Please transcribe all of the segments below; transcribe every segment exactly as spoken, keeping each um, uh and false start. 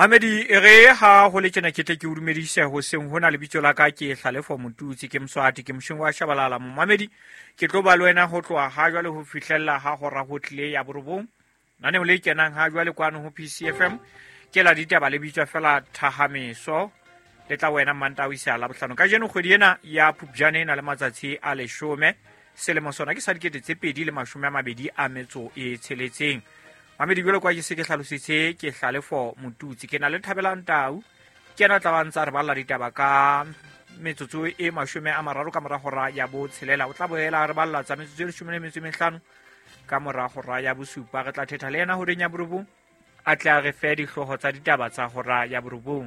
Mamedi e re ha ho le tjena ke tle ke o dumedise hoseng hona. Lebitso la ka ke Hlalefo Motutsi, ke Moswati, ke moshong wa Shabalala. Momamedi, ke tlo ba le wena ho tloha ha jwale ho fihlella ha hora ho tlile ya borobong. Naneo le kenang ha jwale kwano ho P C F M ke la ditaba le bitswa fela Thahameso, le tla wena Mantaha ho isa Labohlano. Kajeno kgwedi ena ya Phupjane e na le matsatsi a leshome, selemo sona ke sa dikete tse pedi le mashome a mabedi a metso e tsheletseng. Mamedi, jwalo ka ke se ke hlalositse, ke Hlalefo Motutsi, ke na le Thabelang Tau, ke yena a tla ba ntsa re balla ditaba ka metsotso e mashome a mararo ka mora hora ya botshelela. O tla boela re balla tsa metsotso e leshome le metso e mehlano ka mora hora ya bosupa. Re tla thetha le yena horeng ya borobong, a tle a re fe dihlooho tsa ditaba tsa hora ya borobong.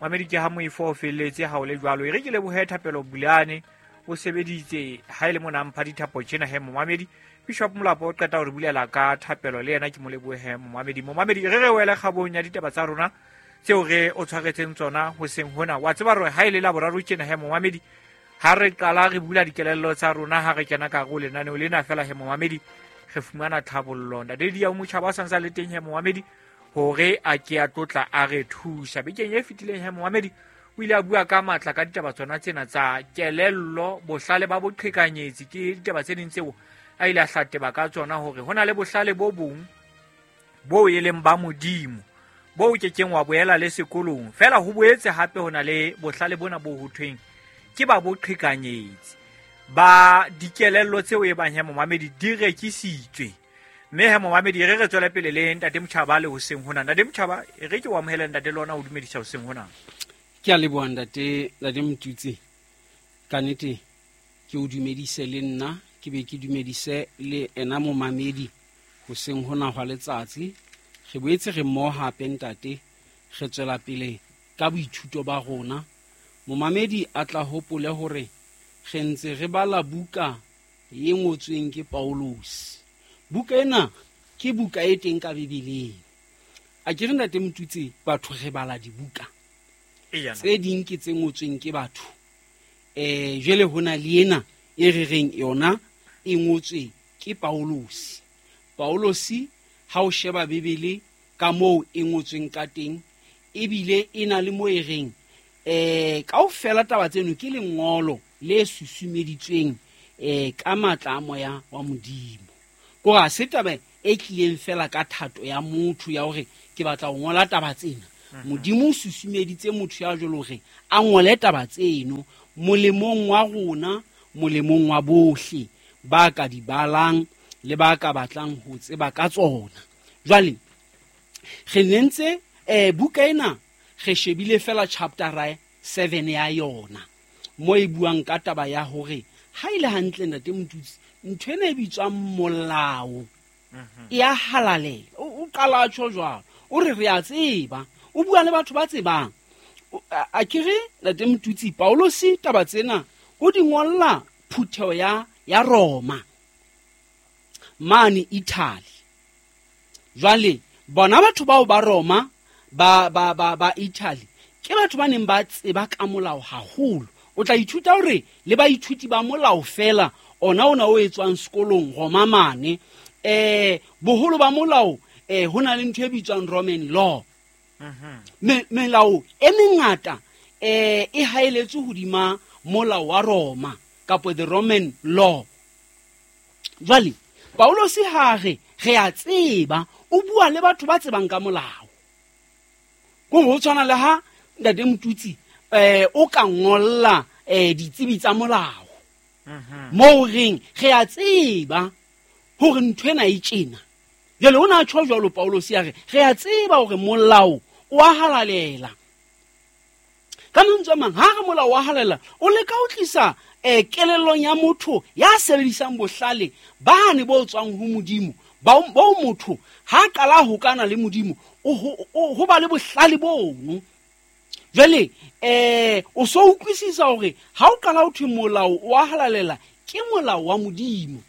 Mamedi, ke ha moifo o felletse ha o le jwalo. E re ke lebohe Thapelo Bulane, o sebeditse ha e le mona mpha dithapo tjena he momamedi. Bishop Molapo o qeta ho re bulela ka thapelo, le yena ke mo lebohe momamedi. Momamedi, re re wele kgabong ya ditaba tsa rona tseo re o tshwaretseng tsona hoseng hona. Wa tseba hore ha e le Laboraro tjena he momamedi, ha re qala re bula dikelello tsa rona, ha re kena ka hare ho lenaneo lena fela he momamedi, re fumana tlhabollo. Ntate Dia o motjhaba a sa ntse a le teng he momamedi, hore a ke a tlotla a re thusa. Bekeng e fetileng he momamedi, o ile a bua ka matla ka ditaba tsona tsena tsa kelello, bohlale ba boqhekanyetsi. Ke ditaba tse ding tseo a ile a hlateba ka tsona, hore ho na le bohlale bo bong bo e leng ba Modimo, bo ke keng wa boela le sekolong. Fela ho boetse hape ho na le bohlale bona bo ho thweng ke ba boqhekanyetsi, ba dikelello tseo e bang he momamedi di rekisitswe. Mme he momamedi, re re tswele pele le Ntate Motjhaba le hoseng hona. Ntate Motjhaba, e re ke o amohele ntate le ona o dumedisa hoseng hona. Ke a leboha ntate, ntate Motutsi. Ka nnete ke o dumedise le nna, ke be ke dumedise le ena momamedi hoseng hona hwa letsatsi. Re boetse re mmoho hape ntate, re tswela pele ka boithuto ba rona. Momamedi a tla hopole hore re ntse re bala buka e ngotsweng ke Paulus. Buka ena ke buka e teng ka Bibeleng. A ke re ntate Motutsi, batho re bala dibuka Eya. tse ding ke tse ngotsweng ke batho. Eh, jwale ho na le ena e re reng yona e ngotswe ke Paulus. Paulus ha o sheba Bibele ka moo e ngotsweng ka teng, ebile e na le moo e reng, eh, kaofela taba tseno ke lengolo le susumeditsweng, eh, ka matla a moya wa Modimo. Kore ha se taba e tlileng fela ka thato ya motho ya hore ke batla ho ngola taba tsena. Mhm. Modimo o susumeditse motho ya jwalo hore a ngole taba tseno molemong wa rona, molemong wa bohle ba ka di balang le ba ka batlang ho tseba ka tsona. Jwale re ne ntse, eh, buka ena re shebile fela chapter seven ya yona, mo e buang ka taba ya hore ha e le hantle ntate Motutsi, ntho ena e bitswang molao Mhm. e a halalela. O, o qala a tjho jwalo, o re re a tseba, o bua le batho ba tsebang. O, a, a ke re ntate Motutsi, Paulus taba tsena o di ngolla phutheho ya, ya Roma mane Italy. Jwale bona batho bao ba Roma ba, ba, ba, ba Italy ke batho ba neng ba tseba ka molao haholo. O tla ithuta hore le baithuti ba molao fela ona ona o etswang sekolong Roma mane, eh, boholo ba molao, eh, ho na le ntho e bitswang Roman law. Mhm. Me-, melao e mengata, eh, e haeletswe hodima molao wa Roma kapa the Roman law. Jwale Paulus ha re re a tseba, o bua le batho ba tsebang ka molao. Ko ho tshwana le ha ntate Motutsi, eh, o ka ngolla, eh, ditsebi tsa molao. Mhm. Moo reng re a tseba hore ntho ena e tjena. Jwale o na tjho jwalo Paulus ya re re a tseba hore molao o a halalela. Ka mantswe a mang, ha re molao wa halalela, o leka ho tlisa, eh, kelellong ya motho ya sebedisang bohlale bane bo tswang ho Modimo, ba, bo motho ha qala ho kana le Modimo, o ho, o, ho ba le bohlale bono. Jwale, eh, o so utlwisisa hore ha o qala ho thwe molao wa halalela, ke molao wa Modimo.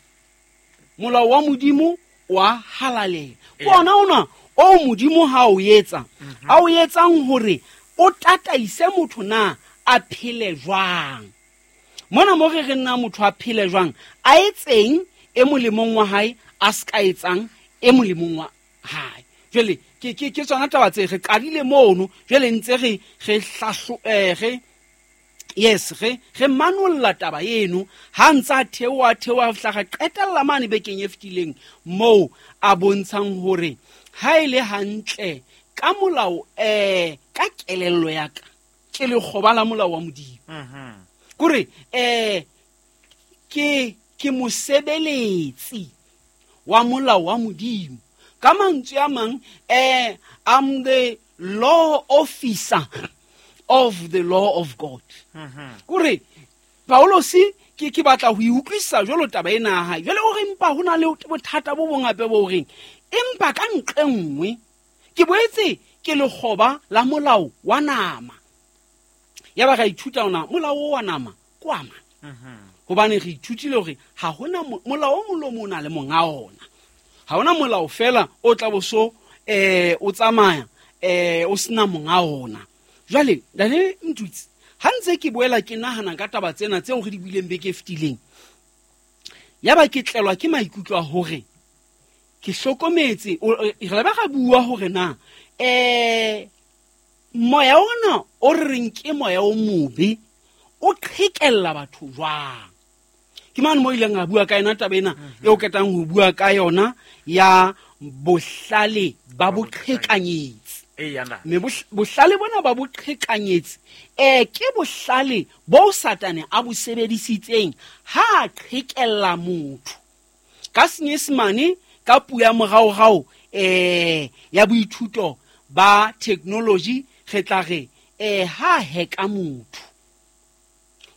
Molao wa Modimo wa halalela. Ke Eya. ona ona o Modimo ha o etsa, Mhm. a o etsang hore o tataise motho na a phele jwang. Mona mo re re nna motho a phele jwang, a etseng e molemong wa hae, a se ka etsang e molemong wa hae. Jwale ke ke ke tsona taba tse re qadile mono, jwale ntse re re hlahlo eh re yes re re manolla taba eno ha ntsa theoha theoha fihla qetella mane bekeng e fetileng moo a bontshang hore ha ile hantle ka molao eh ka kelello ya ka ke lekgoba la molao wa Modimo. Mhm. Kore eh ke ke mosebeletsi wa molao wa Modimo. Ka mantswe a mang eh I'm the law officer of the law of God. Mhm. Kore Paulosi ke ke batla ho utlwisisa jwalo taba ena ya hae. Jwale o re empa hona le bothata bo bong hape bo reng empa ka ntle nngwe ke boetse ke lekgoba la molao wa nama. Ya ba ra ithuta ona molao wa nama kwa ma. Mhm. Hobane re ithutile hore ha hona molao o molomo o na le monga ona. Ha hona molao fela o tla bo so eh o tsamaya eh o sena monga ona. Jwale ntate Mtutsi ha ntse ke boela ke nahana ka taba tsena tseo re di buileng beke e fetileng, ya ba ke tlelwa ke maikutlo a hore ke hlokometse re ba ga bua hore na eh moya ona o re reng ke moya o mobe o qhekella batho jwang. Ke mane mo ileng a bua ka yona taba ena eo ketang ho bua ka yona ya bohlale ba boqhekanyetsi. Mme bohlale bona ba boqhekanyetsi eh ke bohlale bo Satane a bo sebedisitseng ha a qhekella motho. Ka Senyesemane ka puo ya moraorao eh ya boithuto ba technology re tla re eh ha heka motho.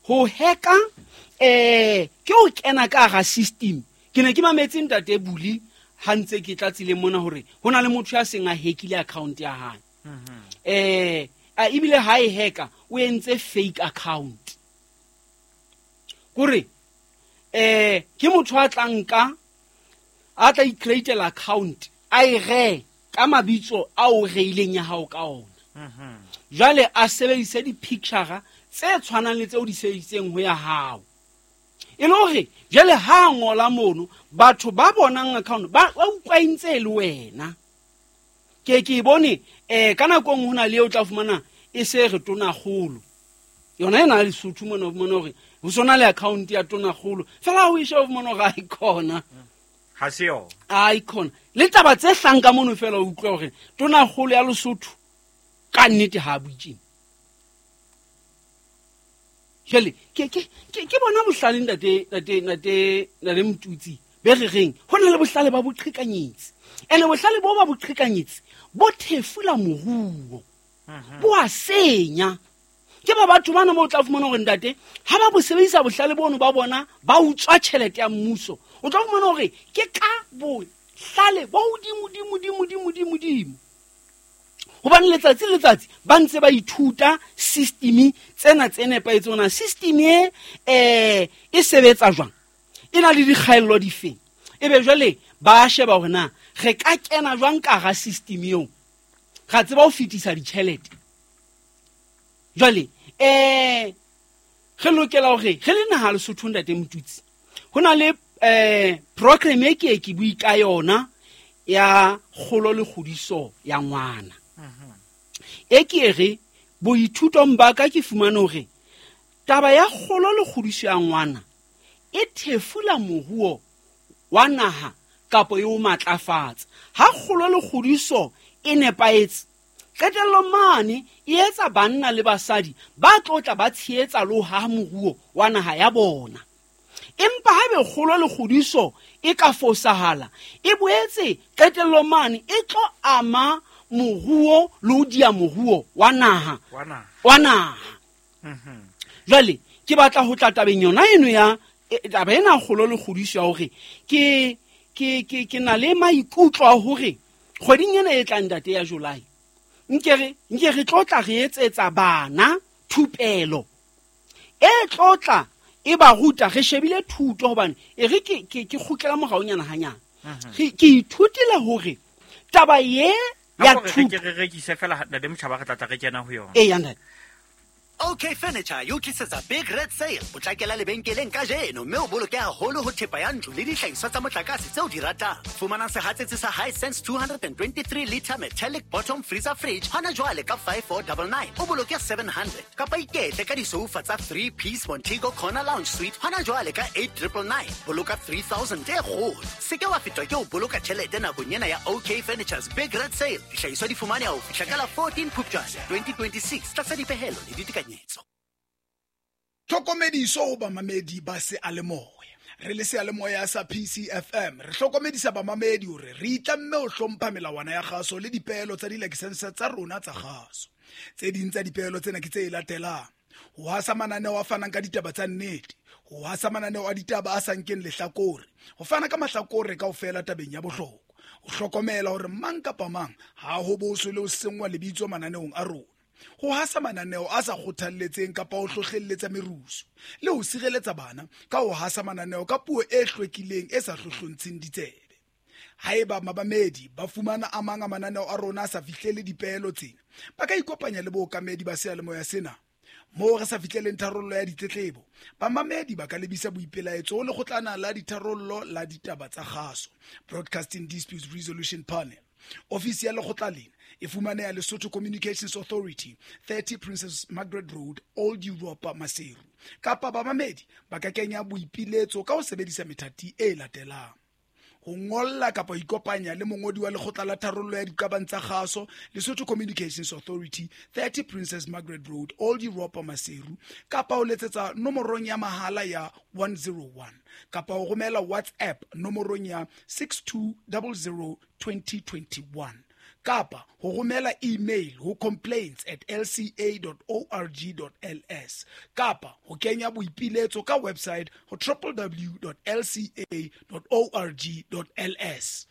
Ho heka eh ke o kena ka hara system. Ke ne ke mametse ntate Buli ha ntse ke tlatsile mona hore hona le motho ya seng a hackile account ya hae. Mhm. Eh a ebile ha e hacka o entse fake account. Kore eh ke motho a tla nka a tla i-createla account a e re ka mabitso a o reileng ya hao ka ona. Mhm. Jwale a sebedise di-picture tse tshwanang le tseo di sebedisitseng ho ya hao. E le hore jwale ha ngola mono batho ba bonang account ba ba utlwa ntse le wena. Ke ke bone eh ka nako nngwe hona le eo tla fumana e se re tonakgolo. Yona ena ya Lesotho mona o fumana hore ho sona le account ya tonakgolo fela o e sheba o fumana hore ha e khona. Ha se yona. Ha e khona. Le taba tse hlang ka mono fela o utlwa hore tonakgolo ya Lesotho ka nnete ha bue tjena. Jwale ke ke ke bona bohlale ntate ntate ntate ntate Mtutsi be re reng hona le bohlale ba boqhekanyetsi. Ene bohlale bo ba boqhekanyetsi bo thefula moruo. Bo a senya. Ke ba batho bana mo tla fumana hore ntate ha ba bo sebedisa bohlale bono ba bona ba utswa tjhelete ya mmuso. O tla fumana hore ke ka bohlale bo hodimo dimo dimo dimo dimo dimo. Hobane letsatsi le letsatsi ba ntse ba ithuta system tsena tse nepahetseng hona system e eh e sebetsa jwang, e na le dikgaello difeng. Ebe jwale ba sheba hore na re ka kena jwang ka hara system eo ra tseba ho fetisa ditjhelete. Jwale eh re lokela hore re le naha Lesotho ntate Mtutsi ho na le eh program e ke ke bui ka yona ya kgolo le kgodiso ya ngwana. E ke re boithutong ba ka ke fumane hore taba ya kgolo le kgodiso ya ngwana e thefula moruo wa naha kapa e o matlafatsa. Ha kgolo le kgodiso e nepahetse qetellong mane e etsa banna le basadi ba tlotla ba tshehetsa le ho haha moruo wa naha ya bona. Empa ha be kgolo le kgodiso e ka fosahala e boetse qetellong mane e tlo ama moruo le ho dia moruo wa naha wa naha wa naha. Mhm. Jwale ke batla ho tla tabeng yona eno ya taba ena kgolo le kgodiso ya hore ke ke ke ke na le maikutlo a hore kgweding ena e tlang ntate ya July nke re nke re tlotla re etsetsa bana thupelo e tlotla e ba ruta re shebile thuto hobane e re ke ke ke kgutlela moraonyana hanyane. Re ke ithutile hore taba ye ya thuto thuto re rekise fela ntate Motjhaba re tla tla re kena ho yona. E ya ntate. OK Furniture e o tlisetsa Big Red Sale. Potlakela lebenkeleng kajeno mme o boloke haholo ho thepa ya ntlo le dihlahiswa tsa motlakase tseo di ratang. Fumana sehatsetsi sa Hisense two hundred twenty-three liter metallic bottom freezer fridge hona jwale ka five thousand four hundred ninety-nine, o boloke seven hundred. Kapa iketle ka disoufa tsa three piece Montego Corner Lounge Suite hona jwale ka eight thousand nine hundred ninety-nine, boloka three thousand e kgolo. Se ke wa fetwa ke ho boloka tjhelete nakong ena ya OK Furniture's Big Red Sale. Dihlahiswa di fumaneha ho fihla ka la fourteen Phupjane twenty twenty-six tlasa dipehelo le ditekanyetso. Tlhokomediso ho bamamedi ba seyalemoya. Re le seyalemoya sa P C F M, re hlokomedisa bamamedi hore re itlamme ho hlompha melawana ya kgaso le dipeelo tsa dilakesense tsa rona tsa kgaso. Tse ding tsa dipeelo tsena ke tse latelang: ho hasa mananeo a fanang ka ditaba tsa nnete, ho hasa mananeo a ditaba a sa nkeng lehlakore, ho fana ka mahlakore kaofela tabeng ya bohlokwa, ho hlokomela hore mang kapa mang ha ho boswe le ho senngwa lebitso mananeong a rona, ho hasa mananeo a sa kgothalletseng kapa ho hlohlelletsa merusu, le ho sireletsa bana ka ho hasa mananeo ka puo e hlwekileng e sa hlohlontsheng ditsebe. Haeba mamamedi ba fumana a mang a mananeo a rona a sa fihlele dipeelo tsena, ba ka ikopanya le bookamedi ba seyalemoya sena. Moo re sa fihleleng tharollo ya ditletlebo, bamamedi ba ka lebisa boipelaetso ho Lekgotlana la Ditharollo la Ditaba tsa Kgaso, Broadcasting Disputes Resolution Panel. Ofisi ya lekgotla lena e fumaneha Lesotho Communications Authority, thirty Princess Margaret Road, Old Europa, Maseru. Kapa bamamedi ba ka kenya boipiletso ka ho sebedisa methati e latelang: ho ngolla kapa ho ikopanya le mongodi wa Lekgotla la Tharollo ya Diqabang tsa Kgaso, Lesotho Communications Authority, thirty Princess Margaret Road, Old Europa, Maseru, kapa ho letsetsa nomorong ya mahala ya one zero one, kapa ho romela WhatsApp nomorong ya six two zero zero two zero two one, kapa ho romela email ho complaints at l c a dot org dot l s, kapa ho kenya boipiletso ka website ho w w w dot l c a dot org dot l s.